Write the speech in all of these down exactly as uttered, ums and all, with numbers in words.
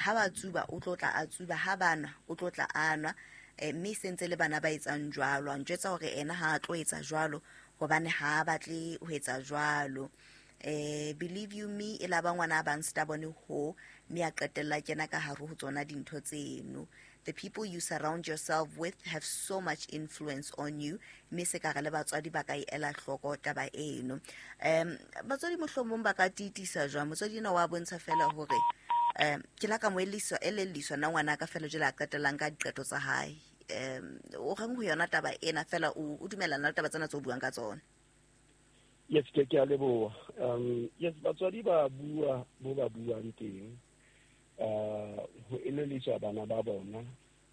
Ha ba tsuba o tlo tla a tsuba, ha ba nwa o tlo tla a nwa, eh, mme se ntse le bana ba etsang jwalo. A njwetsa hore ena ha a tlo etsa jwalo hobane ha a batle ho etsa jwalo. Eh, believe you me, e la ba ngwana a bang stubborn ho, mme a qetella kena ka hare ho tsona dintho tseno. The people you surround yourself with have so much influence on you, mme se ka re le batswadi ba ka e ela hloko taba eno. Um batswadi mohlomong ba ka tiitisa jwang? Motswadi ena wa bontsha fela hore um ke la ka mo elelliswa elelliswa nna ngwana ka fela jwale a qetellang ka diqeto tsa hae. Um o reng ho yona taba ena fela, o o dumellana le taba tsena tse o buang ka tsona? Yes, ke ke a leboha. Um yes, batswadi ba bua bo ba buang teng, uh ho elelliswa bana ba bona,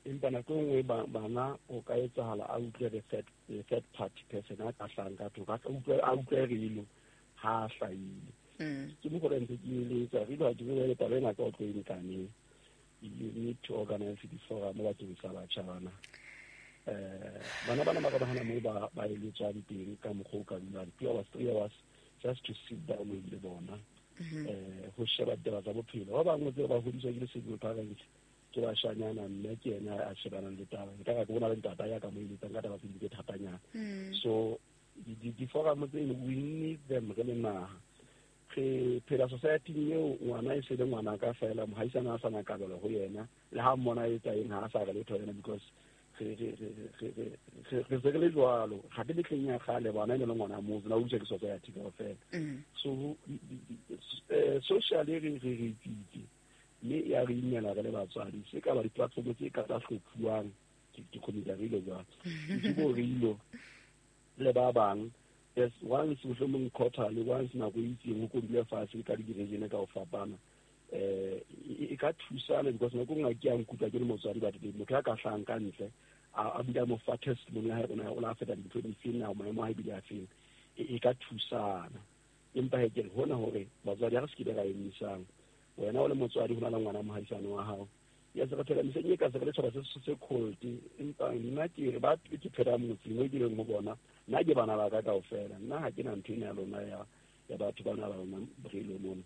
empa nako e nngwe bana o ka etsahala a utlwe the third, the third party person a ka hlahang ka thoko, a utlwe a utlwe relo ha a hlahile. Mm. Ke mo gore ntse ke eletsa re ha ke bue taba ena ka o tlo e nkaneng. You need to organize di-forum bakeng sa batjha bana. Eh, bana bana ba ka ba hana moo ba ba eletswang teng ka mokgwa o ka dulang two hours, three hours just to sit down le bona. Eh, ho sheba ditaba tsa bophelo. Ba bangwe tse ba hodiswa ke le-single parents, ke bashanyana, mme ke yena a shebanang le taba. Nka re ke bona le ntata ya ka mo eletsang ka taba tse ding tse thatanyana. Mm. So di-forum tseno we need them re le naha. Re phela society eo ngwana e se le ngwana ka fela, mohaisana a sa na kabelo ho yena, le ha mmona e etsa eng ha a sa re letho yena, because re re re re re re se re le jwalo. Ga ke mehleng ya kgale bana e ne le ngwana motse, na o utlwa ke society kaofela. Mm. So eh, socially re re re tsitse, mme ya re imela re le batswadi. Se ka ba di-platform tse ka tsa hlophuwang, ke ke community re ile jwalo, ke bo re ilo le ba bang. Yes, once mohlomong quarterly, once nako e itseng ho kodule fatshe ka di-region ka ho fapana. Eh, e ka thusana because nako e nngwe ke a nkutlwa ke le motswadi, but motho ya ka hlahang ka ntle a bile a mo fa testimony ya hae, o la feta dintho di feng na maemo a hae bile a feng, e ka thusana. Empa he ke re hona hore batswadi ha re se ke be ra emisang. Wena o le motswadi ho na le ngwana mohaisane wa hao. Yes, re phela mehleng e ka se re le tjhaba se se cold, empa nna ke re ba ke phela motseng o ke leng ho bona, nna ke bana ba ka kaofela. Nna ha ke na ntho ena ya lona ya ya batho bana ba lona brelo mona.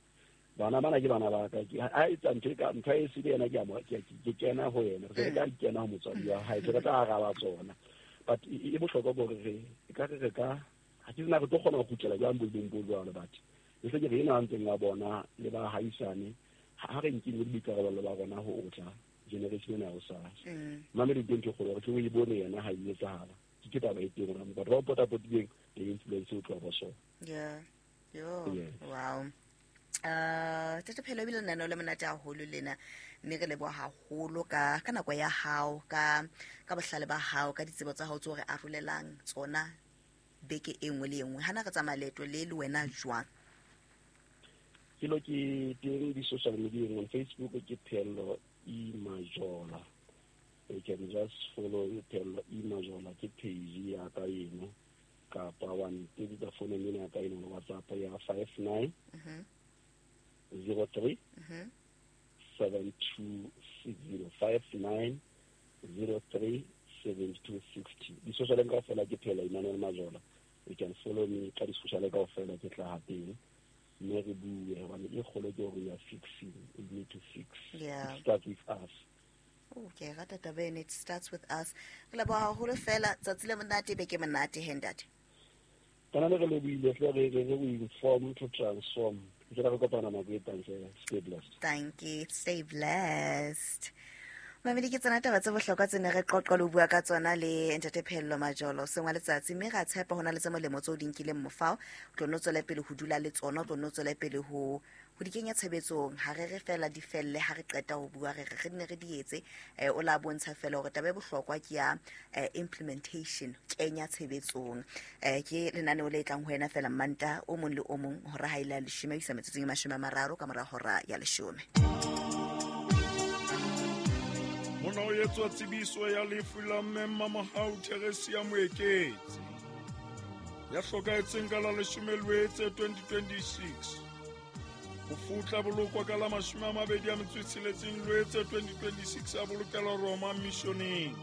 Bana bana ke bana ba ka. Ke ha etsa ntho e ka ntho e se le yena ke a mo ke ke kena ho yena. Re ka di kena ho motswadi wa hae, re tla araba tsona. But e bohlokwa hore re e ka re re ka ha ke tsena re tlo kgona ho kgutlela jwang boemong bo jwalo, but le se ke re ena ntseng wa bona le ba haisane, ha re nkile boikarabelo ba rona ho otla generation ena ya hosasa. Mm. Mamedi teng ke kgolo, re tlo e bone yena ha e etsahala. Ke taba e teng hore batho ba potapotileng le influence o tloha ba sona. Yeah. Yo. Yes. Wow. Uh, Tata Phello, ebile lenaneo le monate haholo lena, mme re leboha haholo ka ka nako ya hao, ka ka bohlale ba hao, ka ditsebo tsa hao tseo re arolelang tsona beke e nngwe le e nngwe. Hana re tsamaya leeto le le wena jwang? Ke lo ke teng di-social media, on Facebook ke Phello E Majola. You can just follow Phello E Majola, ke page ya ka eno, kapa wa ntetsetsa founung ena ya ka eno, WhatsApp ya five nine Mhm. zero three Mhm. seven two six zero, five nine zero three seven two sixty. Di-social kaofela ke Phello Emmanuel Majola. You can follow me ka di-social kaofela, ke tla ha teng. Mme re bue, hobane e kgolo ke hore we are fixing, we need to fix. Yeah. It starts with us. Oh, ke e rata taba ena, it starts with us. Re leboha haholo fela, tsatsi le monate, beke monate, he ntate. Kana le re lebohile hle, re re we inform to transform. Ke re kopana nako e tlang hle. Stay blessed. Thank you. Stay blessed. Mamedi, ke tsona taba tse bohlokwa tse ne re qoqa le ho bua ka tsona le Ntate Phello Majolo seng wa letsatsi, mme ra tshepa ho na le tse molemo tseo di nkileng mofao. O tlo nno tswele pele ho dula le tsona, o tlo nno tswele pele ho ho di kenya tshebetsong. Ha re re fela di felle, ha re qeta ho bua re re re nne re di etse. Eh, o la bontsha fela hore taba e bohlokwa ke ya, eh, implementation, kenya tshebetsong. Eh, ke lenaneo le tlang ho wena fela Manta o mong le o mong hora ha ile ya leshome ho isa metsotsong e mashome a mararo ka mora hora ya leshome. Mona ho etswa tsebiso ya lefu la mme Mmamohau Theresia Moeketsi, ya hlokahetseng ka la leshome Loetse twenty twenty-six. Ho futla bolokwa ka la mashome a mabedi a metso e tsheletseng Loetse twenty twenty-six, a bolokelwa Roma Missioneng.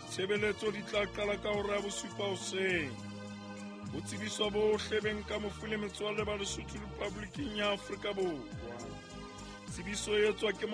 Tshebeletso di tla qala ka hora ya bosupa hoseng. Ho tsebiswa bohle beng ka mofu le metswalle ba Lesotho Republiking ya Afrika Borwa. Tsebiso e etswa ke